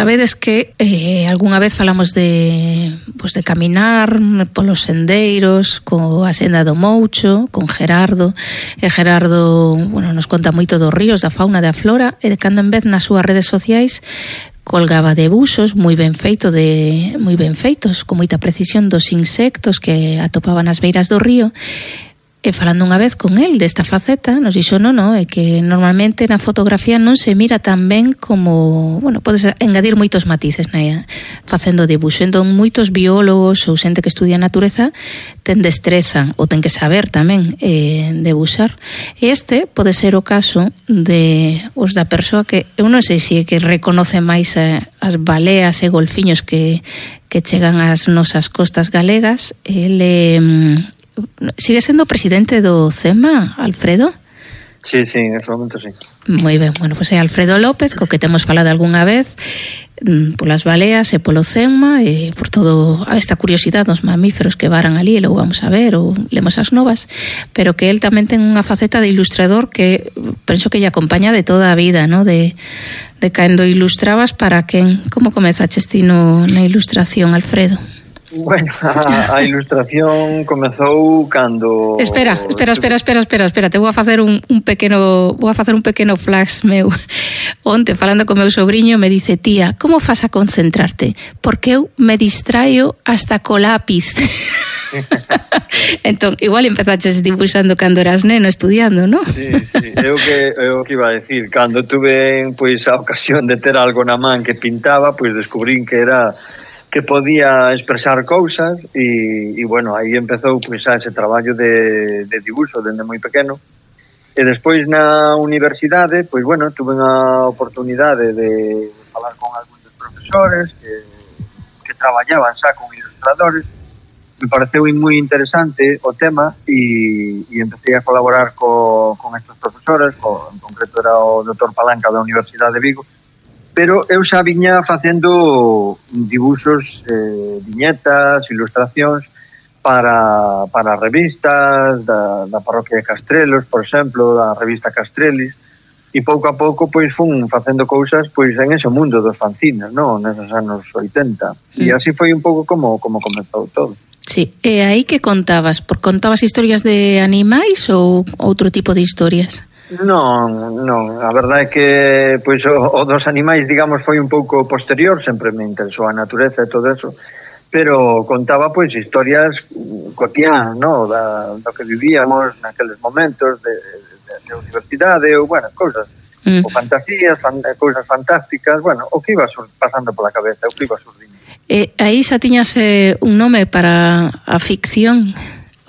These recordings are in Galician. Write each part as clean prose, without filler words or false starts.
Sabedes que algunha vez falamos de caminar polos sendeiros coa senda do Moucho, con Gerardo, e Gerardo, nos conta moito dos ríos, da fauna, da flora, e de cando en vez nas súas redes sociais colgaba debuxos moi ben feitos, con moita precisión dos insectos que atopaban nas beiras do río. E falando unha vez con el desta faceta, nos dixo é que normalmente na fotografía non se mira tan ben como, podes engadir moitos matices facendo dibuxo. Entón, moitos biólogos ou xente que estudia a natureza ten destreza ou ten que saber tamén debuxar. E este pode ser o caso de da persoa que, eu non sei se é que reconoce máis as baleas e golfiños que chegan ás nosas costas galegas. Ele sigue sendo presidente do CEMA, Alfredo? Sí, en ese momento sí. Moi ben, pois é Alfredo López, co que temos falado algunha vez polas baleas e polo CEMA e por todo esta curiosidade dos mamíferos que varan ali e logo vamos a ver ou lemos as novas, pero que el tamén ten unha faceta de ilustrador que penso que lle acompaña de toda a vida, de cando ilustrabas para quen. Como comezaches ti na ilustración, Alfredo? Bueno, a ilustración comezou cando... Espera, te vou a facer un pequeno flash meu. Onte, falando co meu sobrinho, me dice: tía, como fas a concentrarte? Porque eu me distraio hasta co lápiz. Entón, igual empezaches dibuixando cando eras neno estudiando, non? Sí, eu que iba a decir, cando tuve a ocasión de ter algo na man que pintaba, descubrín que podía expresar cousas e aí empezou ese traballo de dibuixo dende moi pequeno. E despois na universidade, tuve unha oportunidade de falar con algúns dos profesores que traballaban xa con ilustradores. Me pareceu moi interesante o tema e empecé a colaborar con estes profesores, en concreto era o Dr. Palanca da Universidade de Vigo. Pero eu xa viña facendo dibuxos, viñetas, ilustracións para revistas da parroquia de Castrelos, por exemplo, da revista Castrelis, e pouco a pouco fun facendo cousas en ese mundo dos fanzines, neses anos 80. E así foi un pouco como comezou todo. Sí, e aí que contabas? Contabas historias de animais ou outro tipo de historias? Non, a verdade é que o dos animais, digamos, foi un pouco posterior, sempre me interesou a natureza e todo eso, pero contaba historias cotidianas, do que vivíamos naqueles momentos de universidade, ou cousas, ou fantasías, cousas fantásticas, o que iba pasando pola cabeza, o que iba surdindo. Aí xa tiñas un nome para a ficción,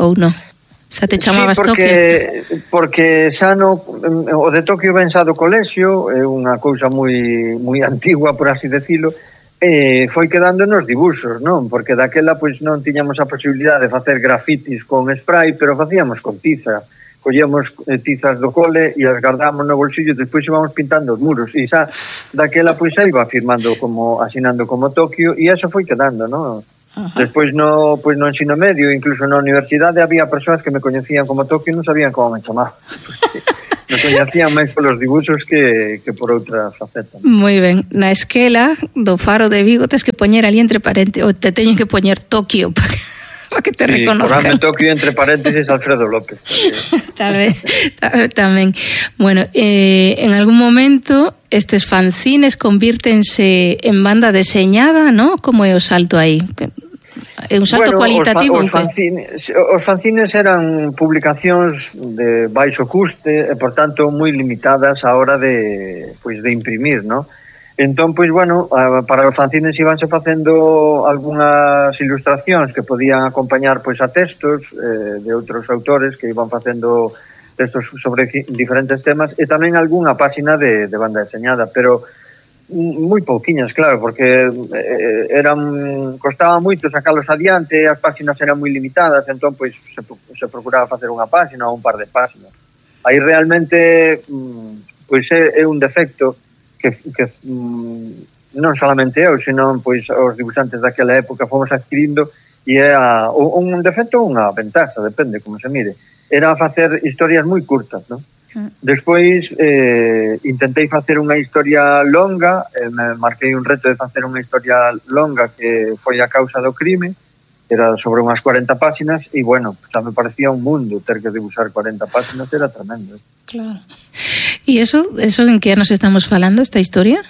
ou non? Xa te chamabas Tokio? Porque xa o de Tokio ben xa do colexio, é unha cousa moi antigua, por así decirlo, e foi quedando nos dibuxos, porque daquela non tiñamos a posibilidade de facer grafitis con spray, pero facíamos con tiza. Collíamos tizas do cole e as guardábamos no bolsillo e despois íbamos pintando os muros. E xa daquela xa iba firmando asinando como Tokio e eso foi quedando, Despois no ensino medio, incluso na universidade, había persoas que me coñecían como Tokio e non sabían como me chamaba. Me coñecían máis polos dibuxos que por outra faceta. Moi ben. Na esquela do Faro de Vigo tes que poñer ali entre paréntesis, ou te teñen que poñer Tokio para que te reconozcan. Porame Tokio entre paréntesis Alfredo López. Tal vez, tamén. Bueno, en algún momento estes fanzines convírtense en banda deseñada, Como é o salto aí? É un salto cualitativo? Os fanzines eran publicacións de baixo custe e, por tanto, moi limitadas a hora de imprimir, Entón, para os fanzines íbanse facendo algunhas ilustracións que podían acompañar a textos de outros autores que iban facendo textos sobre diferentes temas e tamén algunha páxina de banda deseñada, pero moi pouquiñas, claro, porque costaba moito sacalos adiante, as páxinas eran moi limitadas, entón se procuraba facer unha páxina ou un par de páxinas. Aí realmente é un defecto que non solamente eu, senón os dibuixantes daquela época fomos adquirindo, e é un defecto ou unha ventaxa, depende como se mire. Era facer historias moi curtas, Despois intentei facer unha historia longa, me marquei un reto de facer unha historia longa que foi a causa do crime, era sobre unhas 40 páxinas, e bueno, xa me parecía un mundo ter que dibuixar 40 páxinas, era tremendo. Claro. E eso en que anos estamos falando, esta historia?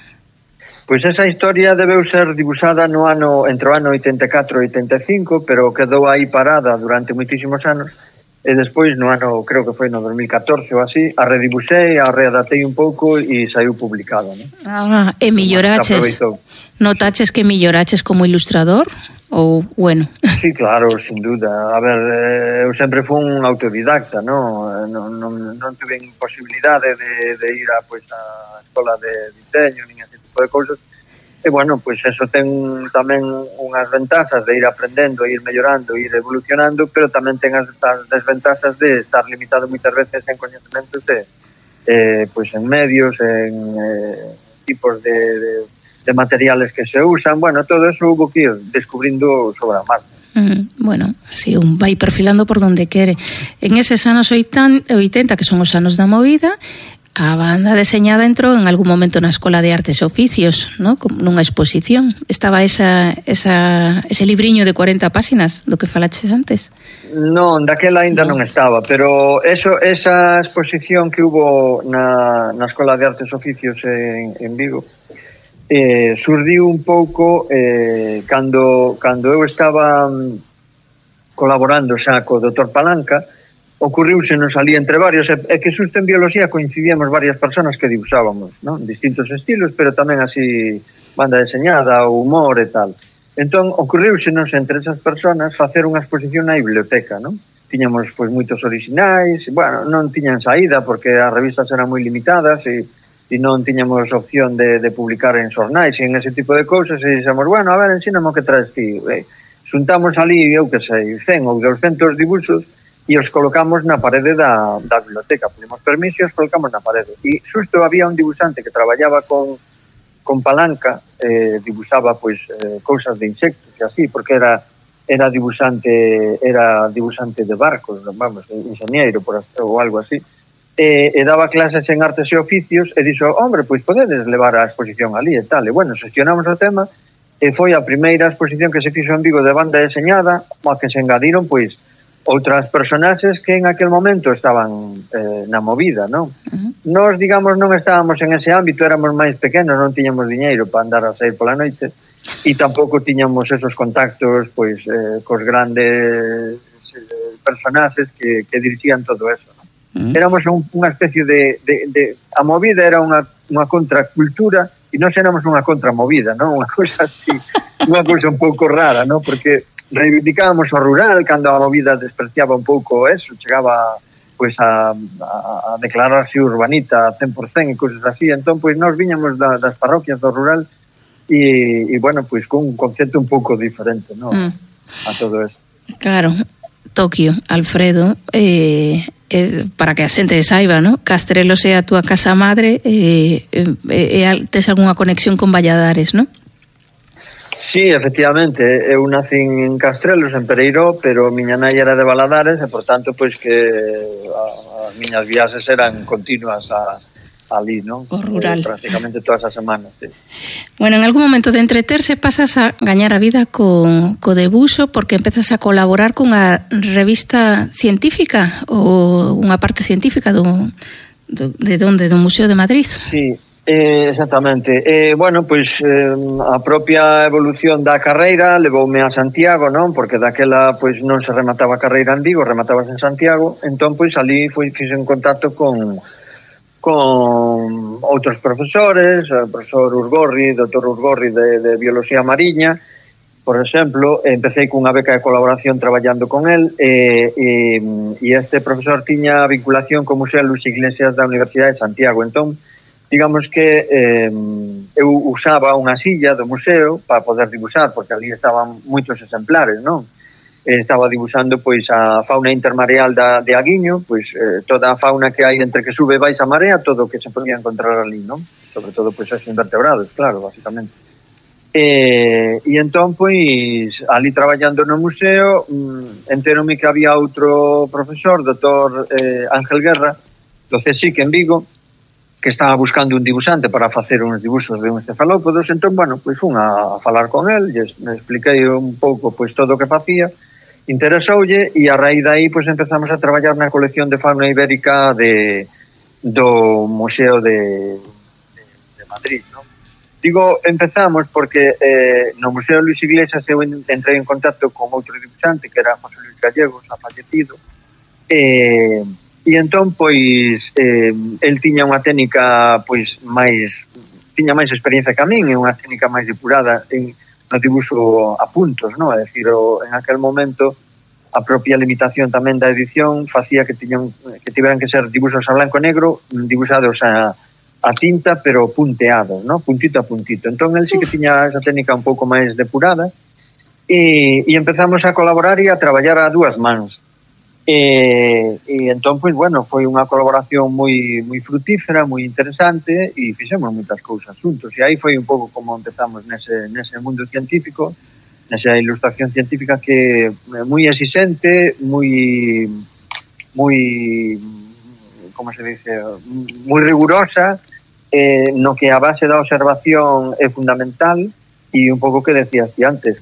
Pois esa historia debeu ser dibuixada no ano entre o ano 84 e 85, pero quedou aí parada durante moitísimos anos, e despois no ano, creo que foi no 2014 ou así, a redibuxei, a readaptei un pouco e saiu publicada, ¿no? E melloraches, notaches que melloraches como ilustrador? Ou, bueno... Sí, claro, sin duda. A ver, eu sempre fui un autodidacta, non tuve posibilidade de ir a escola de diseño, nin ese tipo de cousas. E, bueno, pois eso ten tamén unhas ventajas de ir aprendendo, ir mellorando, ir evolucionando, pero tamén ten as desventajas de estar limitado moitas veces en coñecementos en medios, en tipos de materiales que se usan, bueno, todo eso hubo que ir descubrindo sobre a marcha. Bueno, así un vai perfilando por donde quere. En eses anos 80, que son os anos da movida, a banda deseñada entrou en algún momento na Escola de Artes e Oficios, ¿no? Nunha exposición. Estaba ese libriño de 40 páxinas do que falaches antes? Non, daquela ainda non estaba, pero esa exposición que hubo na Escola de Artes e Oficios en Vigo, surdiu un pouco cando eu estaba colaborando xa co Dr. Palanca, ocurriúsenos ali entre varios, e que xusto en biología coincidíamos varias personas que dibuixábamos, ¿no? Distintos estilos, pero tamén así banda deseñada, humor e tal. Entón, ocurriúsenos entre esas personas facer unha exposición na biblioteca, ¿no? Tiñamos pois moitos orixinais, bueno, non tiñan saída porque as revistas eran moi limitadas e non tiñamos opción de publicar en xornais e en ese tipo de cousas, e dixemos, bueno, a ver, ensíname o que traes ti. Xuntamos ali, eu que sei, 100 ou 200 dibuixos e os colocamos na parede da biblioteca. Pedimos permiso e os colocamos na parede. E xusto había un dibuixante que traballaba con Palanca, dibuixaba pois cousas de insectos e así, porque era dibuixante de barcos, vamos, ingeniero ou algo así. E daba clases en artes e oficios e dixo, hombre, pois podedes levar a exposición ali e tal. E bueno, xestionamos o tema e foi a primeira exposición que se fixo en Vigo de banda deseñada, a que se engadiron pois outras personaxes que en aquel momento estaban na movida, non? Nós, digamos, non estábamos en ese ámbito, éramos máis pequenos, non tiñamos diñeiro para andar a sair pola noite e tampouco tiñamos esos contactos pois cos grandes personaxes que dirixían todo eso, non? Éramos unha especie de a movida era unha contracultura e nós éramos unha contramovida, non? Unha cousa así, unha cousa un pouco rara, non? Porque reivindicábamos o rural cando a movida despreciaba un pouco eso, chegaba pois a declararse urbanita 100% e cousas así. Entón, pois nós viñamos das parroquias do rural e bueno, pois con un concepto un pouco diferente, non? A todo eso. Claro, Tokio, Alfredo, para que a xente saiba, ¿no? Castrelos é a túa casa madre e tes algunha conexión con Valladares, ¿no? Sí, efectivamente, eu nacín en Castrelos, en Pereiró, pero miña nai era de Valadares e, por tanto, pois que as miñas viaxes eran continuas ali, non? O rural. Prácticamente todas as semanas, sí. Bueno, en algún momento de entreterse pasas a gañar a vida co debuxo porque empezas a colaborar cunha revista científica ou unha parte científica do Museo de Madrid. Sí, exactamente. Bueno, pois a propia evolución da carreira levoume a Santiago, non? Porque daquela pois non se remataba a carreira en Vigo, rematabas en Santiago. Entón, pois ali fixe en contacto con outros profesores, o profesor Urgorri, doutor Urgorri de Biología Mariña, por exemplo, empecé cunha beca de colaboración traballando con el e este profesor tiña vinculación co Museo Luis Iglesias da Universidade de Santiago. Entón, digamos que eu usaba unha silla do museo para poder dibuixar, porque ali estaban moitos exemplares, non? Estaba dibuixando pois a fauna intermareal de Aguiño, pois toda a fauna que hai entre que sube e baixa a marea, todo o que se podía encontrar ali, non? Sobre todo pois os invertebrados, claro, basicamente. E entón, pois, ali traballando no museo, enteróme que había outro profesor, doutor Ángel Guerra, CSIC en Vigo, que estaba buscando un dibuixante para facer uns dibuxos de uns cefalópodos. Entón, bueno, pois fun a falar con el, me expliquei un pouco pois todo o que facía, interesoulle, e a raíz de aí pois empezamos a traballar na colección de fauna ibérica do Museo de Madrid, non? Digo, empezamos porque no Museo Luis Iglesias eu entrei en contacto con outro dibuixante que era José Luis Gallegos, ha fallecido, e entón, pois, el tiña unha técnica, pois, tiña máis experiencia que a min, e unha técnica máis depurada no dibuixo a puntos, non? É dicir, en aquel momento, a propia limitación tamén da edición facía que tiveran que ser dibuixos a blanco e negro, dibuixados a tinta, pero punteados, non? Puntito a puntito. Entón, el sí que tiña esa técnica un pouco máis depurada, e empezamos a colaborar e a traballar a dúas mans. E entón, pois, bueno, foi unha colaboración moi frutífera, moi interesante, e fixemos moitas cousas juntos, e aí foi un pouco como empezamos nese mundo científico, nesa ilustración científica que é moi exigente, moi como se dice, moi rigurosa, no que a base da observación é fundamental, e un pouco que decías ti antes,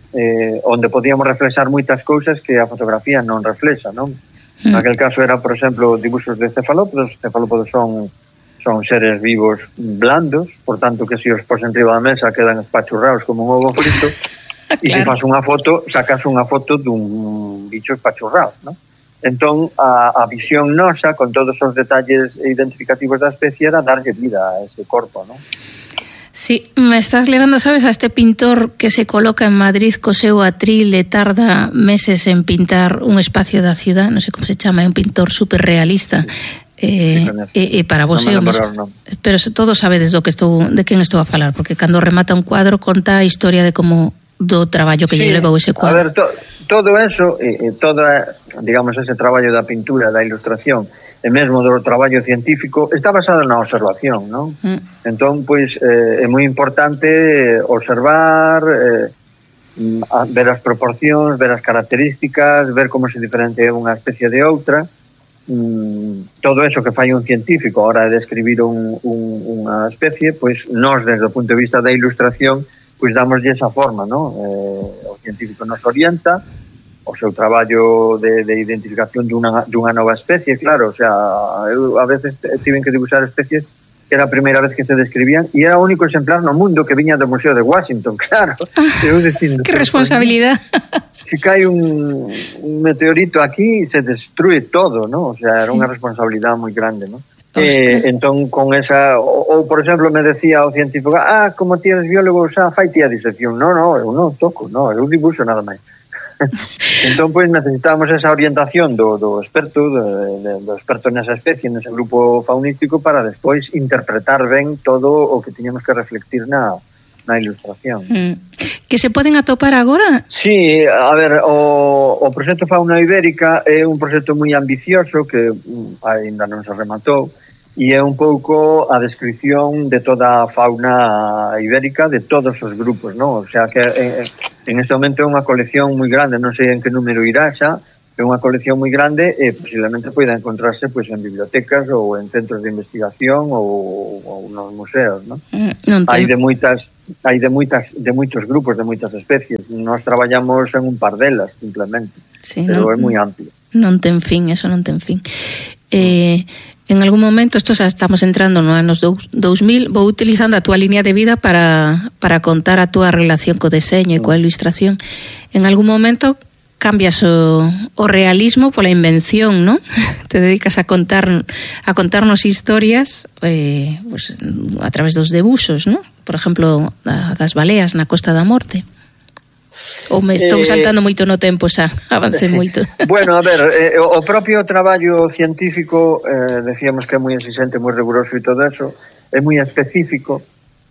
onde podíamos reflexar moitas cousas que a fotografía non reflexa, non? Naquel caso era, por exemplo, dibuxos de cefalópodos. Os cefalópodos son seres vivos blandos, por tanto que se os pos enriba da mesa quedan espachurrados como un ovo frito, e se faz unha foto, sacas unha foto dun bicho espachurrado, non? Entón, a visión nosa, con todos os detalles identificativos da especie, era darlle vida a ese corpo, non? Sí, me estás levando, sabes, a este pintor que se coloca en Madrid co seu atril e tarda meses en pintar un espacio da ciudad, non sei como se chama, é un pintor super realista. E para vos é o mesmo. Pero todos sabedes de quen estou a falar, porque cando remata un cuadro conta a historia de como do traballo que lle levou ese cuadro. A ver, todo eso, digamos, ese traballo da pintura, da ilustración, e mesmo do traballo científico, está basado na observación, non? Entón, pois, é moi importante observar, ver as proporcións, ver as características, ver como se diferencia unha especie de outra, todo eso que fai un científico a hora de describir unha especie, pois, nós, desde o punto de vista da ilustración, pois damoslle esa forma, non? O científico nos orienta, o seu traballo de identificación dunha nova especie, claro, o sea, eu a veces tiven que dibuixar especies que era a primeira vez que se describían e era o único exemplar no mundo que viña do Museo de Washington, claro. Eu dicindo, que responsabilidade. Se cae un meteorito aquí, se destrue todo, ¿no? O sea, era unha responsabilidade moi grande, ¿no? Entón, con esa... Ou, por exemplo, me decía o científico, como ti eres biólogo, xa fai ti a disección. No, eu non toco, eu dibuixo nada máis. Entón, pois, necesitábamos esa orientación do experto, do experto nesa especie, nese grupo faunístico, para despois interpretar ben todo o que tiñamos que reflectir na ilustración. Que se poden atopar agora? Sí, a ver, o proxecto Fauna Ibérica é un proxecto moi ambicioso que ainda non se rematou, e é un pouco a descripción de toda a fauna ibérica de todos os grupos, non? O sea, que en este momento é unha colección moi grande, non sei en que número irá xa, é unha colección moi grande e posiblemente poida encontrarse pois en bibliotecas ou en centros de investigación ou nos museos, non? Hai de moitos grupos, de moitas especies. Nós traballamos en un par delas, simplemente, sí, pero é moi amplio. Non ten fin, eso non ten fin. En algún momento, esto xa estamos entrando no anos 2000, vou utilizando a túa línea de vida para contar a túa relación co deseño e coa ilustración. En algún momento cambias o realismo pola invención, ¿no? Te dedicas a contarnos historias pues, a través dos debuxos, ¿no? Por exemplo, das baleas na Costa da Morte. Ou me estou saltando moito no tempo xa, avancei moito. Bueno, a ver, o propio traballo científico, decíamos que é moi exigente, moi riguroso e todo eso, é moi específico,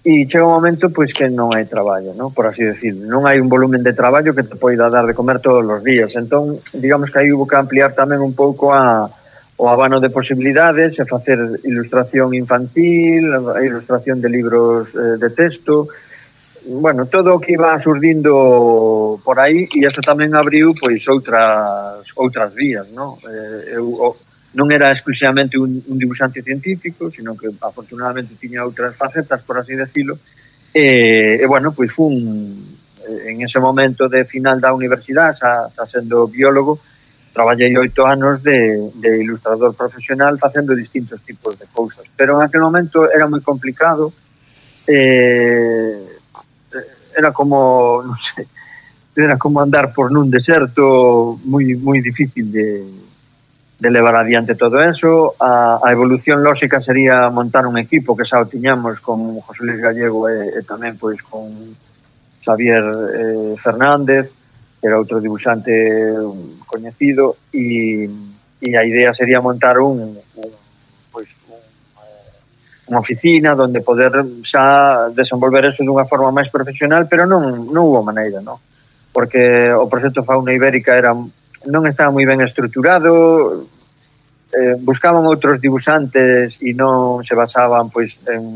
e chega un momento pois que non hai traballo, ¿no? Por así decir, non hai un volumen de traballo que te poida dar de comer todos os días. Entón, digamos que aí hubo que ampliar tamén un pouco o abano de posibilidades, e facer ilustración infantil, a ilustración de libros de texto, bueno, todo o que iba surdindo por aí, e eso tamén abriu pois outras vías, ¿no? Eu non era exclusivamente un dibuixante científico, sino que afortunadamente tiña outras facetas, por así decirlo, e bueno, pois en ese momento de final da universidade, xa sendo biólogo, traballei 8 anos de ilustrador profesional facendo distintos tipos de cousas, pero en aquel momento era moi complicado, era como, non sei, era como andar por nun deserto moi difícil de levar adiante todo eso. A evolución lógica sería montar un equipo que xa o tiñamos con José Luis Gallego e tamén pois con Xavier Fernández, que era outro dibuixante coñecido, e a idea sería montar unha oficina onde poder xa desenvolver eso dunha forma máis profesional, pero non hubo maneira, non? Porque o proxecto Fauna Ibérica non estaba moi ben estruturado, buscaban outros dibuixantes e non se basaban, pois,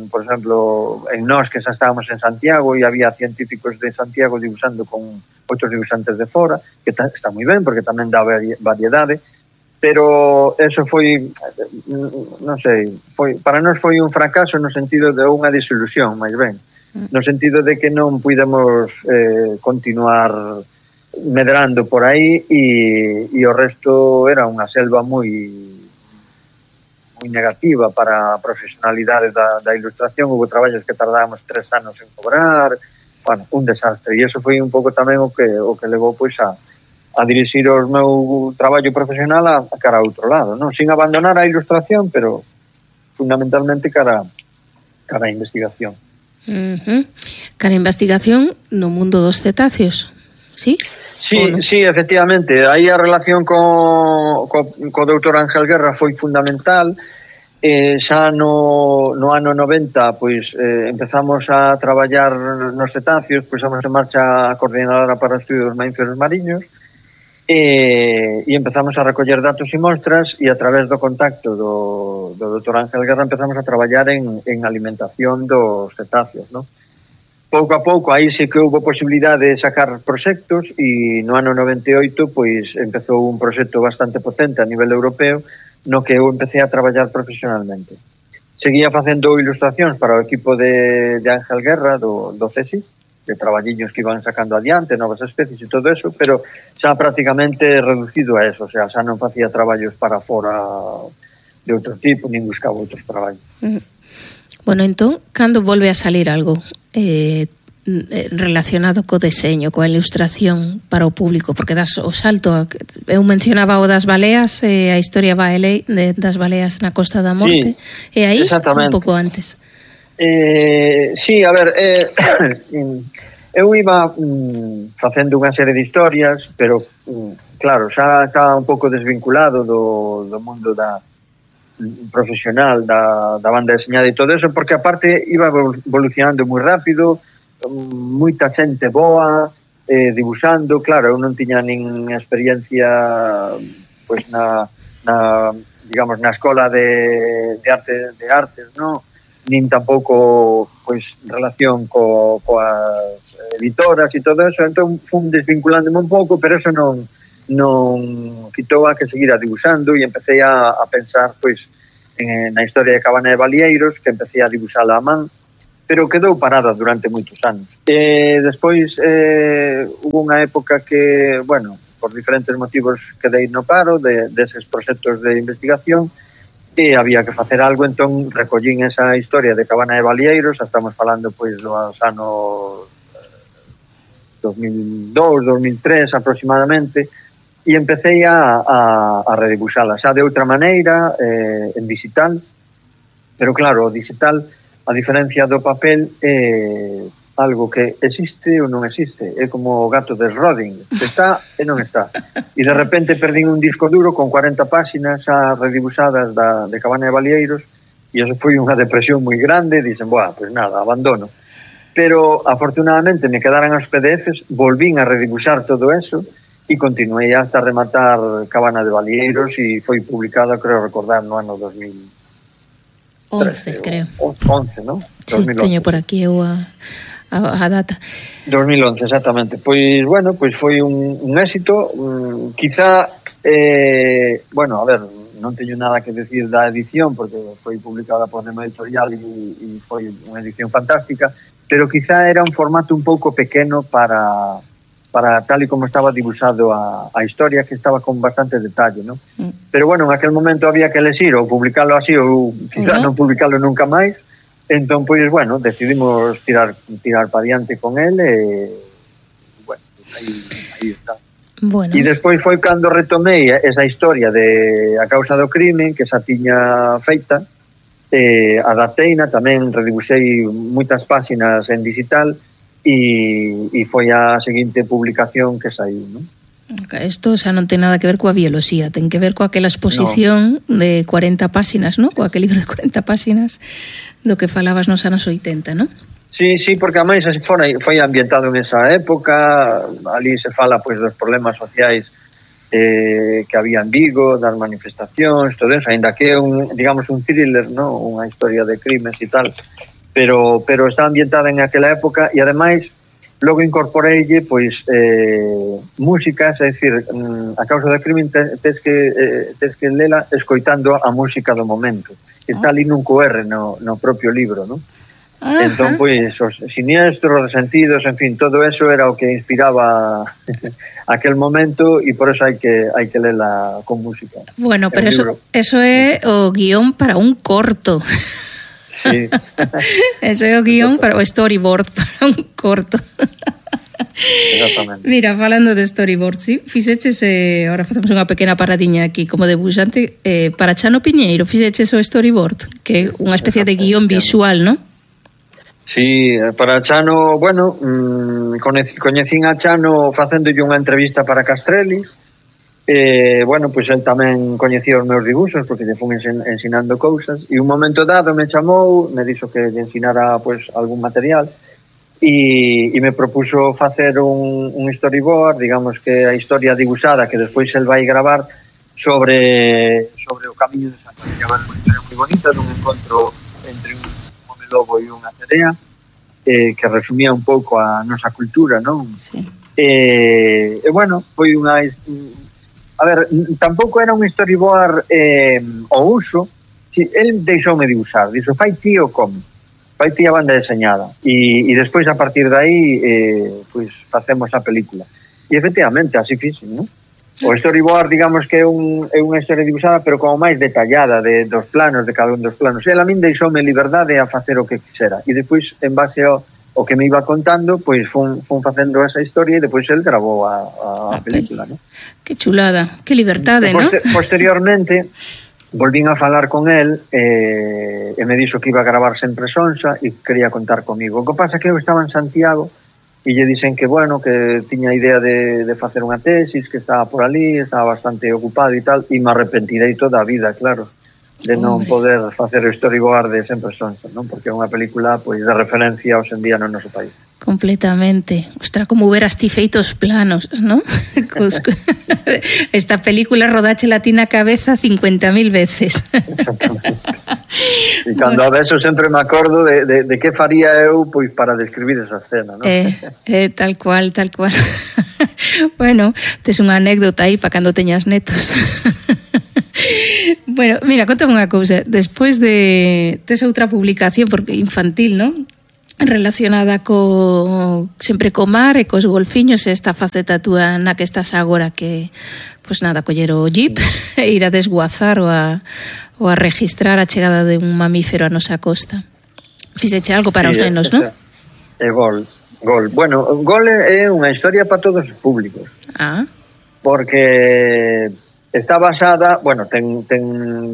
por exemplo, en nós que xa estábamos en Santiago e había científicos de Santiago dibuixando con outros dibuixantes de fora, que está moi ben, porque tamén dá variedade, pero eso foi, non sei, para nós foi un fracaso no sentido de unha desilusión, máis ben, no sentido de que non pudemos continuar medrando por aí e o resto era unha selva moi negativa para a profesionalidade da ilustración. Houve traballos que tardábamos 3 anos en cobrar, bueno, un desastre, e iso foi un pouco tamén o que levou pois a dirixir o meu traballo profesional a cara a outro lado, non? Sin abandonar a ilustración, pero fundamentalmente cara a investigación. Cara a investigación no mundo dos cetáceos, sí? Sí, efectivamente. Aí a relación co doutor Ángel Guerra foi fundamental. Xa no ano 90 pois empezamos a traballar nos cetáceos, puxamos en marcha a coordinadora para o estudio dos mamíferos mariños e empezamos a recoller datos e mostras, e a través do contacto do doutor Ángel Guerra empezamos a traballar en alimentación dos cetáceos, non? Pouco a pouco, aí sí que houve posibilidade de sacar proxectos, e no ano 98 pois empezou un proxecto bastante potente a nivel europeo no que eu empecé a traballar profesionalmente. Seguía facendo ilustracións para o equipo de Ángel Guerra do CSIC, de traballiños que iban sacando adiante, novas especies e todo eso, pero xa prácticamente reducido a eso, o sea, xa non facía traballos para fora de outro tipo, nin buscaba outros traballos. Bueno, entón, cando volve a salir algo relacionado co deseño, coa ilustración para o público, porque das o salto, eu mencionaba o das baleas, a historia das baleas na Costa da Morte, e aí un pouco antes. Sí, a ver, eu iba facendo unha serie de historias, pero claro, xa estaba un pouco desvinculado do mundo profesional da banda deseñada e todo eso, porque aparte iba evolucionando moi rápido, moita xente boa dibuixando. Claro, eu non tiña nin experiencia pois digamos na escola de artes, non? Nin tampouco pois relación coas editoras e todo eso, entón fun desvinculándome un pouco, pero eso non quitou a que seguira dibuixando, e empecé a pensar pois na historia de Cabana de Balieiros, que empecé a dibuixala a man, pero quedou parada durante moitos anos. Despois hubo unha época que, bueno, por diferentes motivos quedei no paro deses proxectos de investigación, e había que facer algo, entón recollín esa historia de Cabana de Balieiros, estamos falando pois dos anos 2002, 2003 aproximadamente, e empecé a redibuxala xa de outra maneira, en digital, pero claro, o digital, a diferencia do papel, é algo que existe ou non existe, é como o gato de Schrödinger, está e non está, e de repente perdín un disco duro con 40 páxinas xa redibuxadas de Cabana de Balieiros, e eso foi unha depresión moi grande, dixen, pues nada, abandono, pero afortunadamente me quedaran os PDFs, volvín a redibuxar todo eso, e continuei hasta rematar Cabana de Balieiros, e foi publicada, creo recordar, no ano 2011, creo. 11, non? Sí, 2011. Teño por aquí eu a data. 2011, exactamente. Pois, bueno, pois foi un éxito, quizá, bueno, a ver, non teño nada que decir da edición, porque foi publicada por Nemo Editorial e foi unha edición fantástica, pero quizá era un formato un pouco pequeno para tal e como estaba dibujado a historia, que estaba con bastante detalle, ¿no? Pero bueno, en aquel momento había que elegir ou publicarlo así ou quizá non publicarlo nunca máis. Entón, pois, bueno, decidimos tirar para diante con él e, bueno, aí está. Bueno. E despois foi cando retomei esa historia de A causa do crime, que xa tiña feita, adapteina, tamén redibuxei moitas páxinas en digital e foi a seguinte publicación que saiu, non? Isto xa non ten nada que ver coa bioloxía, ten que ver coa aquela exposición de 40 páxinas, non? Coa aquel libro de 40 páxinas do que falabas nos anos 80, non? Sí, porque a máis foi ambientado en esa época, ali se fala pois dos problemas sociais que había en Vigo, das manifestacións, todo eso, ainda que é un thriller, non? Unha historia de crimes e tal, pero está ambientada en aquela época e ademais logo incorporeille pois músicas, é dicir, A causa do crime tes que lela escoitando a música do momento. Está ali nun QR no propio libro, non? Entón, pois, os siniestros, resentidos, en fin, todo eso era o que inspiraba aquel momento e por eso hai que lela con música. Bueno, pero eso é o guión para un corto. Sí. Eso é o guión para o storyboard para un corto. Exactamente. Mira, falando de storyboard, sí, fixeches, ahora facemos unha pequena paradiña aquí como debuxante, para Chano Piñeiro fixeches o storyboard, que é unha especie de guión visual, non? Sí, para Chano, bueno, coñecín a Chano facéndolle unha entrevista para Castrelis. Bueno, pois el tamén coñecía os meus dibuxos porque lle fun ensinando cousas e un momento dado me chamou, me dixo que lle ensinara pois algún material e me propuso facer un storyboard, digamos que a historia dibuxada que despois el vai gravar sobre o camiño de Santiago. Unha historia moi bonita dun encontro entre un home lobo e unha cerea que resumía un pouco a nosa cultura, non? Sí. E bueno, foi unha... A ver, tampouco era un storyboard ao uso. Sí, el deixoume dibuixar, dixo, fai ti o cómic, fai ti a banda deseñada e despois a partir de aí pois facemos a película. E efectivamente, así fixen, non? O storyboard, digamos que é unha historia dibuixada, pero como máis detallada dos planos, de cada un dos planos. El a min deixoume liberdade a facer o que quixera e despois, en base ao que me iba contando, pois fun facendo esa historia e depois el grabou a película, non? Que chulada, que liberdade, non? Posteriormente volvín a falar con el e me dixo que iba a gravar sempre Sonsa e quería contar comigo. O que pasa que eu estaba en Santiago e lle dixen que, bueno, que tiña idea de facer unha tesis, que estaba por ali, estaba bastante ocupado e tal, e me arrepentirei toda a vida, claro, de non poder facer o storyboard de Sempre Sonsa, non? Porque é unha película pois de referencia hoxe en día no noso país. Completamente. Ostras, como hubieras ti feitos planos, ¿no? Esta película rodache la tina cabeza 50.000 veces. E cando a veces sempre me acordo de que faría eu pois para describir esa escena, ¿no? Tal cual. Bueno, tes unha anécdota aí para cando teñas netos. Bueno, mira, contame unha cousa. Despois de tes outra publicación porque infantil, non? Relacionada sempre co mar e cos golfiños, esta faceta túa na que estás agora, que pois nada, coller o jeep e ir a desguazar ou a registrar a chegada de un mamífero a nosa costa. Fixeche algo para os nenos, non? É Gol. Bueno, Gol é unha historia para todos os públicos. Porque está basada, bueno, ten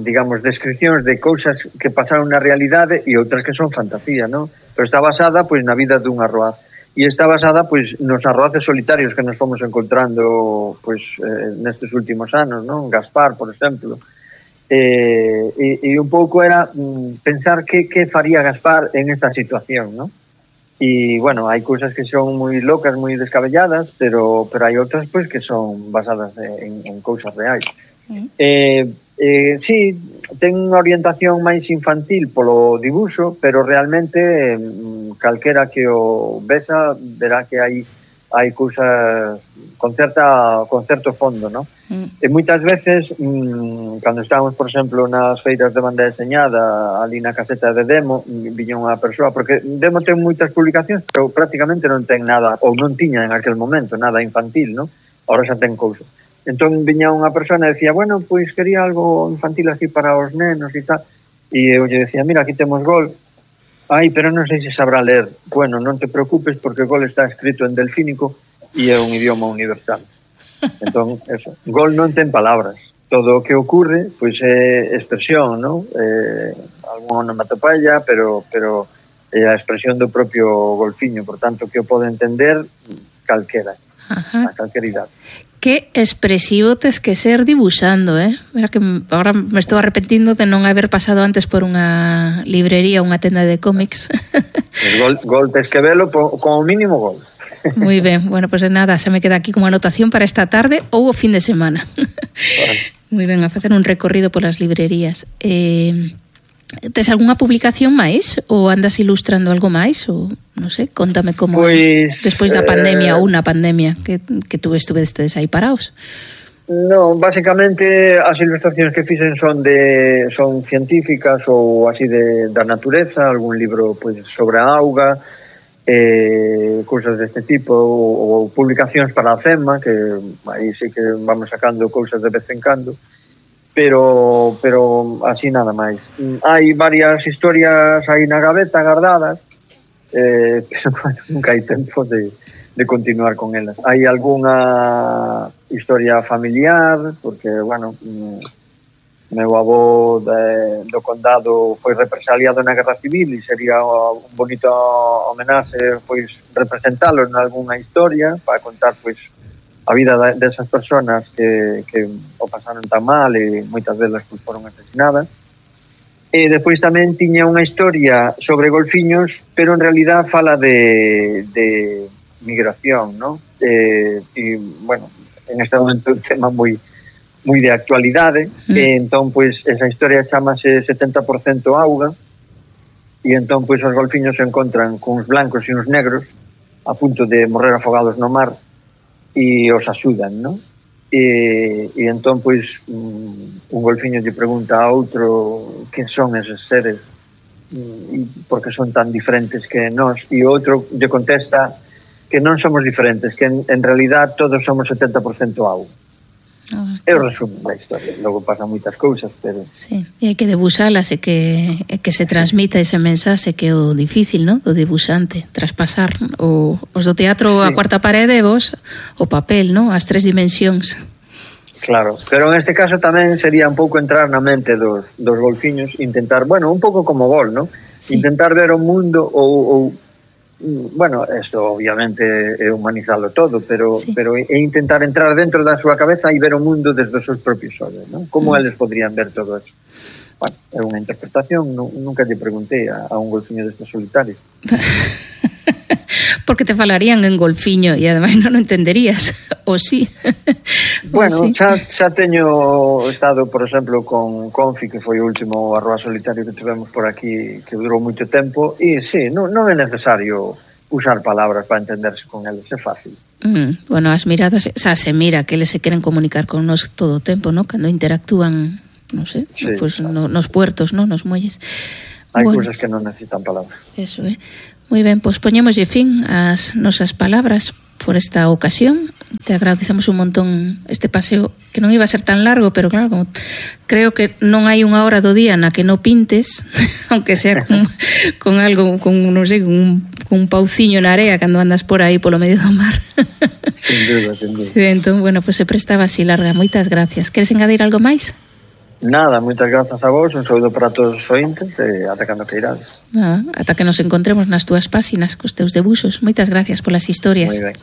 digamos, descripcións de cousas que pasaron na realidade e outras que son fantasía, non? Pero está basada, pois, na vida dun arroaz. E está basada, pois, nos arroaces solitarios que nos fomos encontrando, pois, nestes últimos anos, non? Gaspar, por exemplo. E un pouco era pensar que faría Gaspar en esta situación, non? E, bueno, hai cousas que son moi locas, moi descabelladas, pero hai outras, pois, que son basadas en cousas reais. Sí, ten unha orientación máis infantil polo dibuxo, pero realmente calquera que o vesa verá que hai hai cousas con certo fondo, ¿no? E moitas veces, cando estábamos, por exemplo, nas feiras de banda deseñada, ali na caseta de Demo, viña unha persoa, porque Demo ten moitas publicacións, pero prácticamente non ten nada, ou non tiña en aquel momento, nada infantil, ¿no? Ahora xa ten cousas. Entón viña unha persona e decía, bueno, pois quería algo infantil así para os nenos e tal, e eu lle decía, mira, aquí temos Gol, ai, pero non sei se sabrá ler. Bueno, non te preocupes porque Gol está escrito en delfínico e é un idioma universal. Entón, eso, Gol non ten palabras. Todo o que ocurre, pois é expresión, non? Algún onomatopeia, pero é a expresión do propio golfiño, por tanto, que o pode entender calquera, a calquera idade. Que expresivo tes que ser dibuixando, Mira que agora me estou arrepentindo de non haber pasado antes por unha librería, unha tenda de cómics. Gol tes que velo como mínimo Gol. Moi ben, bueno, pues nada, se me queda aquí como anotación para esta tarde ou o fin de semana. Vale. Moi ben, a facer un recorrido polas librerías. Tes algunha publicación máis? Ou andas ilustrando algo máis? Ou, non sei, contame como pues, despois da pandemia ou na pandemia que tú estuvestes aí paraos. No, básicamente as ilustracións que fixen son científicas ou así da natureza, algún libro pues, sobre a auga, cousas deste tipo, ou publicacións para a CEMA, que aí sí que vamos sacando cousas de vez en cando, pero así nada máis. Hai varias historias aí na gaveta guardadas, pero bueno, nunca hai tempo de continuar con elas. Hai algunha historia familiar, porque, bueno, meu avó do condado foi represaliado na Guerra Civil e sería un bonito homenaxe pois representalo en algunha historia para contar pois a vida desas persoas que o pasaron tan mal e moitas delas pois foron asesinadas. E despois tamén tiña unha historia sobre golfiños, pero en realidad fala de migración, ¿no? E bueno, en este momento un tema moi de actualidade, e entón, pois, esa historia chamase 70% auga, e entón, pois, os golfiños se encontran cuns blancos e uns negros a punto de morrer afogados no mar e os axudan, non? E entón, pois, un golfiño lle pregunta a outro que son eses seres e por que son tan diferentes que nós, e o outro lle contesta que non somos diferentes, que en realidad todos somos 70% auga. É o resumo da historia. Logo pasan moitas cousas, pero... Sí, e hai que debuxalas e que se transmita ese mensaxe que é o difícil, ¿no? O debuxante, traspasar os do teatro a cuarta parede e vos o papel, ¿no? As 3 dimensións. Claro, pero en este caso tamén sería un pouco entrar na mente dos golfiños, intentar, bueno, un pouco como Gol, ¿no? Sí. Intentar ver o mundo ou bueno, esto obviamente é humanizarlo todo, pero é intentar entrar dentro da súa cabeza e ver o mundo desde os seus propios ollos, ¿no? Como eles podrían ver todo eso? Bueno, é unha interpretación, nunca lle preguntei a un golfiño destes solitarios. Porque te falarían en golfiño e ademais non o entenderías, ou sí? Bueno, xa teño estado, por exemplo, con Confi, que foi o último arroba solitario que tivemos por aquí, que durou moito tempo, e sí, non é necesario usar palabras para entenderse con eles, é fácil. Bueno, as miradas, xa se mira que eles se queren comunicar con nos todo o tempo, ¿no? Cando interactúan, non sei, sí, pues, claro. Nos puertos, ¿no? Nos muelles. Hai cousas que non necesitan palabras. Eso, Moi ben, pois poñémoslle fin ás nosas palabras por esta ocasión. Te agradecemos un montón este paseo, que non iba a ser tan largo, pero claro, como creo que non hai unha hora do día na que non pintes, aunque sea con algo, non sei, con un pauciño na area cando andas por aí polo medio do mar. Sin duda. Sí, entón, bueno, pues se prestaba así larga. Moitas gracias. Queres engadir algo máis? Nada, moitas grazas a vos, un saúdo para todos os ointes e ata cando queirades. Nada, ata que nos encontremos nas túas páxinas cos teus debuxos. Moitas gracias polas historias. Moi ben.